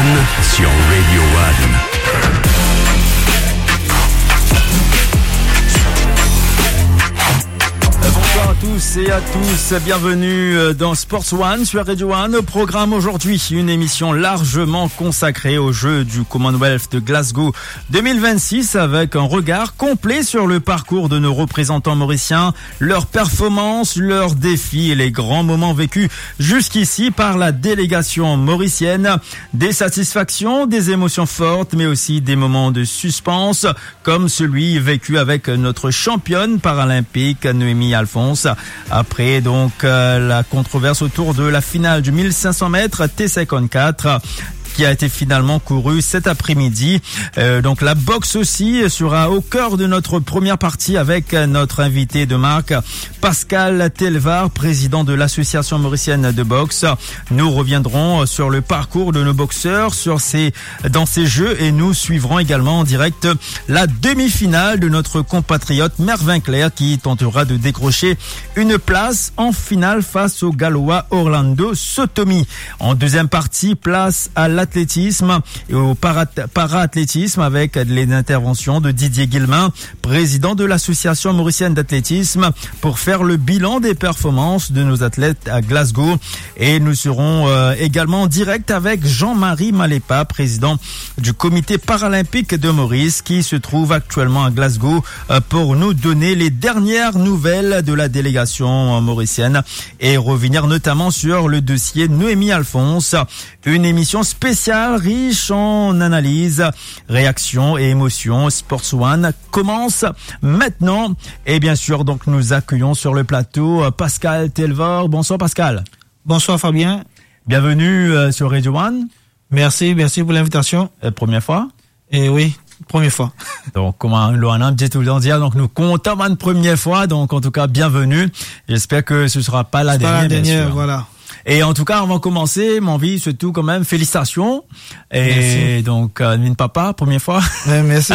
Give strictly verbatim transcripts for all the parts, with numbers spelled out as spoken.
Sur Radio One. Bonsoir à tous et à tous, bienvenue euh, dans Sports One sur Radio One. Au programme aujourd'hui, une émission largement consacrée aux Jeux du Commonwealth de Glasgow deux mille vingt-six avec un regard complet sur le parcours de nos représentants mauriciens, leurs performances, leurs défis et les grands moments vécus jusqu'ici par la délégation mauricienne. Des satisfactions, des émotions fortes, mais aussi des moments de suspense, comme celui vécu avec notre championne paralympique Noémie Alphonse, après donc euh, la controverse autour de la finale du mille cinq cents mètres T cinquante-quatre qui a été finalement courue cet après-midi. Euh, donc la boxe aussi sera au cœur de notre première partie avec notre invité de marque, Pascal Telvar, président de l'Association mauricienne de boxe. Nous reviendrons sur le parcours de nos boxeurs sur ces, dans ces Jeux, et nous suivrons également en direct la demi-finale de notre compatriote Mervin Clerc qui tentera de décrocher une place en finale face au Gallois Orlando Sotomi. En deuxième partie, place à l'athlétisme et au para-, para-athlétisme avec les interventions de Didier Guillemin, président de l'Association mauricienne d'athlétisme, pour faire le bilan des performances de nos athlètes à Glasgow. Et nous serons euh, également en direct avec Jean-Marie Malepa, président du Comité paralympique de Maurice, qui se trouve actuellement à Glasgow euh, pour nous donner les dernières nouvelles de la délégation euh, mauricienne et revenir notamment sur le dossier Noémie Alphonse. Une émission spéciale riche en analyses, réactions et émotions. Sports One commence maintenant. Et bien sûr, donc, nous accueillons sur le plateau euh, Pascal Telvar. Bonsoir Pascal. Bonsoir Fabien. Bienvenue euh, sur Radio One. Merci, merci pour l'invitation. Euh, première fois? Eh oui, première fois. Donc, kouma nou dir toultan, donk nou kontan bann premie fwa. Donc, en tout cas, bienvenue. J'espère que ce sera pas la dernière, bien sûr. Voilà. Et en tout cas, avant de commencer, mon avis, surtout quand même, félicitations. Et donc, euh, min papa, première fois. Ouais, merci.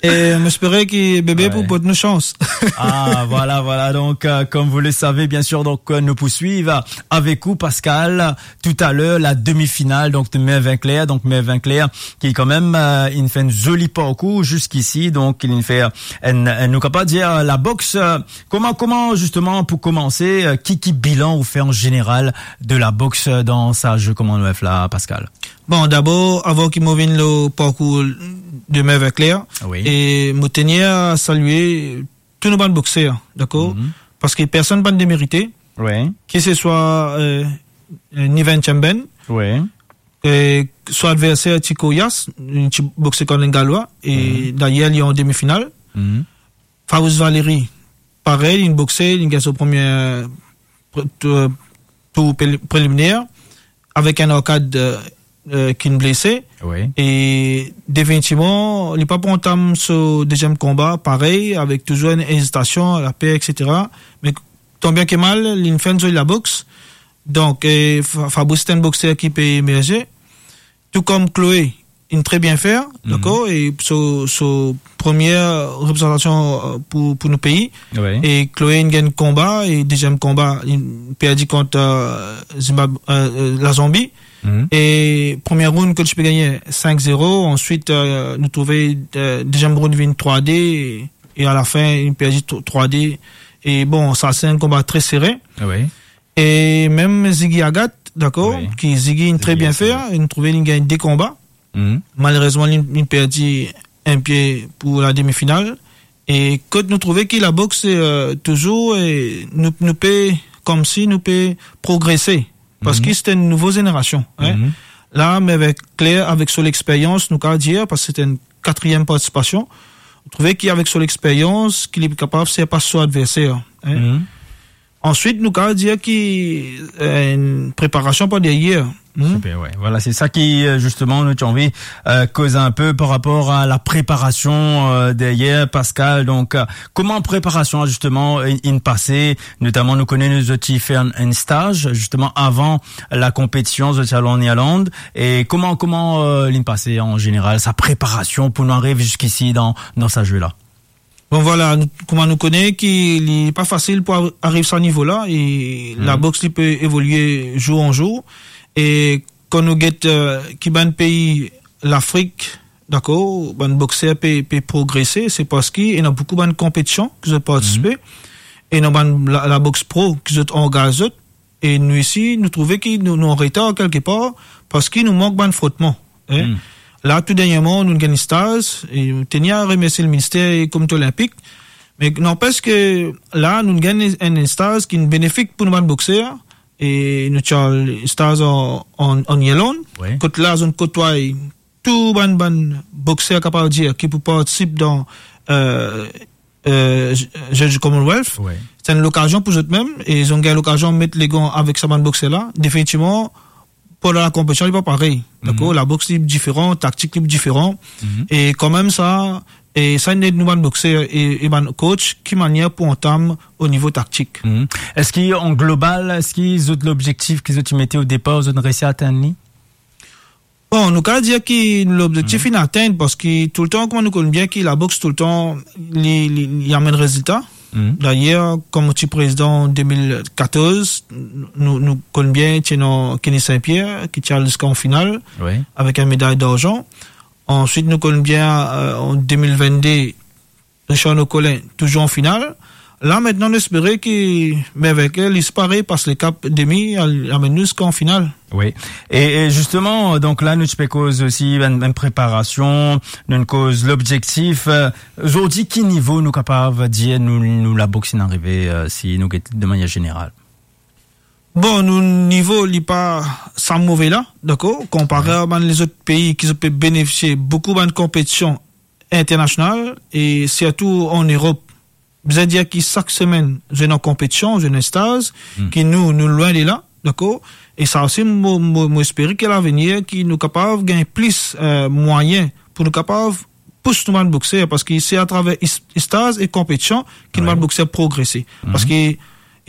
E mo espere ki bebe pou pot nou sans. Ah, voilà, voilà. Donc, euh, comme vous le savez, bien sûr, donc, euh, nous poursuivons avec vous, Pascal, tout à l'heure, la demi-finale, donc, de Mervin Clerc. Donc, Mervin Clerc, ki kanmem, euh, inn fer enn zoli parkour ziska isi, donk, inn fer enn, enn, nou kapav dir, la boxe, euh, kouma, kouma, zisteman, pou koumanse, euh, ki, ki bilan ou fer an zeneral de la boxe dan sa Jeux Commonwealth la, Pascal? Bon, dabor, avan ki mo vinn lor parkour de Mervin Clerc, wi, e mo tenir a salie tou nou bann boxer, dakor? Mhm. Parski personn pa'nn demerite, wi, ki se swa, euh, euh, Niven Chamben, wi, e so adverser ti korias, li ti boxe kan enn Galwa, e, mhm, dayer li an demi-final. Mhm. Fabrice Valéry, parey, li boxe, li gagn so premie, pre-, tou-, tour preli-, preliminer avek enn arkad, euh, euh, ki'nn blese. Wi. E definitivman, li pa pou antam so deziem konba, parey, avek touzour enn ezitasion, laper, et cetera. Me tanbien ke mal, li'nn fer enn zoli laboks. Donk, e, Fa-, Fabrice, se enn boxer ki pe emerze. Tou kom Chloé, inn tre bien fer, mhm, dakor? E so, so premie reprezantasion, euh, pou, pou nou pei. Wi. E Chloé inn gagn konba, e deziem konba, inn perdi kont, euh, Zimbab-, euh, euh, Lazanbi. Mhm. E premie round kot li ti pe gagne cinq zéro, answit, euh, nou trouve, euh, deziem round vinn trois deux, e, e alafin, inn perdi tro-, trois deux. E bon, sa se enn konba tre sere. Wi. E mem Ziggy Agathe, dakor, wi, ki Ziggy inn tre bien fer, wi, e nou trouve li gagn de konba. Mhm. Malerezman, li, li perdi enn pie pou la demi-final. E kot nou trouve ki laboks, euh, touzour, e nou, nou pe, komsi nou pe progrese. Parski, mhm, se enn nouvo zenerasion, hein. Mhm. La, me avek Clerc, avek so lexperyans, nou kapav dir, parski se enn katriem partisipasion, nou trouve ki avek so lexperyans, ki li kapav sirpas so adverser, hein. Mhm. Answit, nou kapav dir ki, euh, enn preparasion par deryer. Hmm? Siper, wi. Vwala, se sa ki, euh, zisteman, nou ti anvi, euh, koz enn pe par rapor a la preparasion, euh, deryer, Pascal. Donk, euh, kouma preparasion, zisteman, inn, inn pase? Notaman, nou kone nou zot ti fer enn, enn staz, zisteman, avan la konpetision, zot ti al an Irland. E kouma, kouma, euh, li'nn pase an zeneral, sa preparasion pou nou ariv ziska isi dan, dan sa zwe la? Bon, vwala, nou, kouma nou kone ki li pa fasil pou ar-, ariv sa nivo la, e, mhm, laboks li pe evolie zour an zour, e kan nou get, eh, ki bann pei Lafrik, dakor, bann bokser pe, pe progrese, se parski ena boukou bann konpetision ki zot partisipe, ena bann la, laboks pro ki zot angaz zot, e nou isi, nou trouve ki nou, nou an retar kelke par, parski nou mank bann frotman, en. La, tou dernierman, nou gagn staz, e nou teni a remersie leminister e Komite Olinpik, me nanpes ke la, nou gagn enn, enn staz ki benefik pou nou bann bokser, e nou ti al staz an, an, an Irland, wi, kot la, zot kotway tou bann, bann bokser, kapav dir, ki pou partisip dan, eh, eh, Jeux du Commonwealth. Wi. Se enn lokazion pou zot mem, e zot gagn lokazion met legan avek sa bann bokser la. Definitivman, pandan lakonpetision, li pa parey. Dakor? Laboks li diferan, taktik li diferan. E kanmem sa, e sa inn ed nou bann bokser e, e bann coach, ki manier pou antam o nivo taktik. Eski an global, eski zot lobzektif ki zot ti mete o depar, zot inn resi atenn li? Bon, nou kapav dir ki lobzektif inn atenn, parski toultan, kouma nou konn bien ki laboks toultan, li, li, li amenn rezilta. Dayer, kouma mo ti prezidan de mil katorz, nou, nou konn bien, ti ena Kenny Saint-Pierre, ki ti al ziska an final, wi, avek enn meday darzan. Answit, nou konn bien, eh, an de mil vennde, Richard Nocolin, touzour an final. La, aster, nou espere ki Merveille Kerley, li parey, pas lekap demi, al amenn nou ziska an final. Wi. E, e zisteman, donk la, nou ti pe koz osi bann, bann preparasion, nou koz lobzektif. Eh, zordi, ki nivo nou kapav dir nou, nou laboks inn arive, eh, si nou get de manier zeneral? Bon, nou nivo, li pa sa move la, dakor? Konpare a bann lezot pei ki zot pe benefisie boukou bann konpetision internasional, e sirtou an Erop. Bizin dir ki sak semenn, zot ena konpetision, zot ena staz, ki nou, nou lwin de la, dakor? E sa osi, mo, mo, mo espere ki a lavenir, ki nou kapav gagn plis, eh, mwayin pou nou kapav pous nou bann bokser, parski se atraver is-, staz e konpetision ki nou bann bokser progrese. Parski,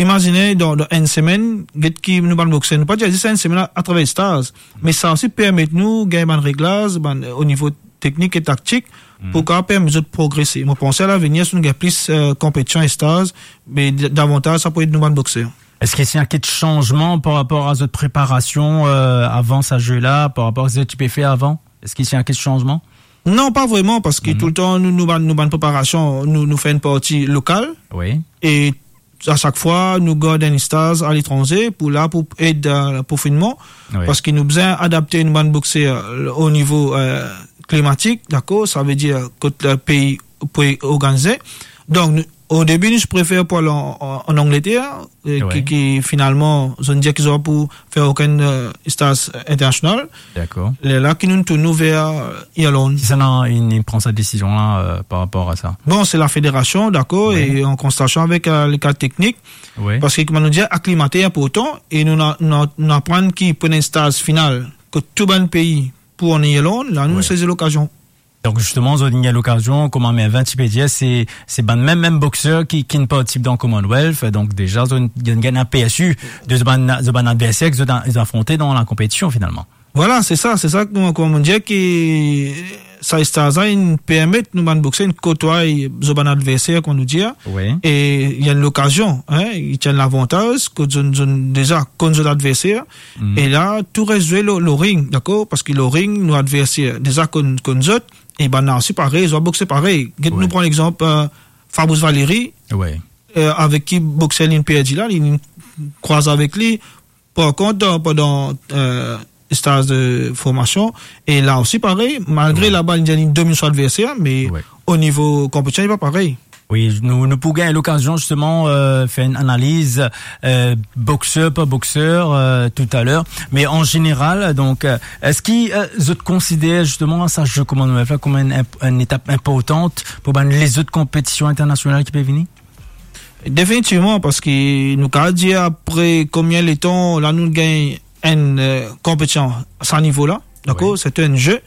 imazine, dan, dan enn semenn, get ki nou bann bokser, nou pa dir zis enn semenn a, atraver staz, me sa osi permet nou gagn bann reglaz, bann, eh, o nivo teknik e taktik, pou kapav permet zot progrese. Mo panse a lavenir, si nou gagn plis, eh, konpetision e staz, me d-, davantaz sa pou ed nou bann bokser. Eski ti ena kek sanzman par rapor a zot preparasion, eh, avan sa ze la, par rapor a seki zot ti pe fer avan? Eski ti ena kek sanzman? Non, pa vreman, parski toultan nou, nou bann, nou bann preparasion, nou, nou fer enn parti lokal. Wi. E a sak fwa, nou gard enn staz aletranze pou la, pou ed, eh, pou finnman. Wi. Parski nou bizin adapte nou bann bokser, eh, o nivo, eh, klimatik, dakor? Savedir kot, eh, pei pou organize. Donk, nou, o debi, nou ti prefer pou al an, an, an Angleter, eh, ki, ki finalman, zot inn dir ki zot pa pou fer okenn, eh, staz internasional. Dakor. Lerla ki nou tourn nou ver, eh, Irland. Kisannla inn, inn pran sa desizion la, eh, par rapor a sa? Bon, se lafederasion, dakor, e an konsiltasion avek, eh, lekad teknik. Wi. Parski, kouma nou dir, aklimate inportan, e nou, nou, nou aprann ki pou ena enn staz final, kot tou bann pei pou an Irland, la nou sezi lokazion. Donk, zisteman, zot inn gagn lokazion, kouma Merveille ti pe dir, se, se bann mem, mem bokser ki, ki inn partisip dan Commonwealth. Donk, deza, zot inn, zot inn gagn apersi de zot bann, zot bann adverser ki zot a, zot afronte dan lakonpetision, finalman. Vwala, se sa, se sa, kouma, kouma mo dir ki sa staz la inn permet nou bann bokser inn kotway zot bann adverser, kouma nou dir. Wi. E ena enn lokazion, en, ena enn lavantaz, kot zot, zot deza konn zot adverser. E la, tou res zwe lor, lor ring, dakor? Parski lor ring, nou adverser deza konn, konn zot, e bann la osi parey, zot bokse parey. Get nou pran lexanp, eh, Fabrice Valéry, eh, avek ki bokser linn perdi la, linn krwaz avek li. Par kont, dan, pandan, eh, staz de formasion, e la osi parey, malgre laba linn dominn so adverser, me o nivo konpetision, li pa parey. Wi, nou, nou pou gagn lokazion, zisteman, eh, fer enn analiz, eh, bokser par bokser, eh, toutaler. Me an zeneral, donk, eh, eski, eh, zot konsider zisteman sa ze Commonwealth la kom enn, enn, enn etap inportan pou bann lezot konpetision internasional ki pe vini? Definitivman, parski nou kapav dir apre konbien letan la nou gagn enn, eh, konpetision sa nivo la, dakor? Wi. Se enn ze.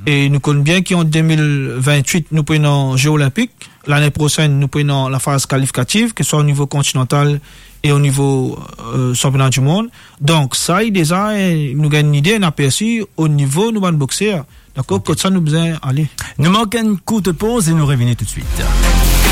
E nou konn bien ki an de mil vintwit, nou pou ena ze Olinpik. Lane prosenn, nou pou ena lafaz kalifikatif, ki swa o nivo kontinantal e o nivo, eh, sanpiona dimond. Donk, sa, deza, eh, nou gagn enn lide, enn apersi o nivo nou bann bokser. Dakor, kot sa nou bizin ale. Nou mark enn kourt poz e nou revini toutswit.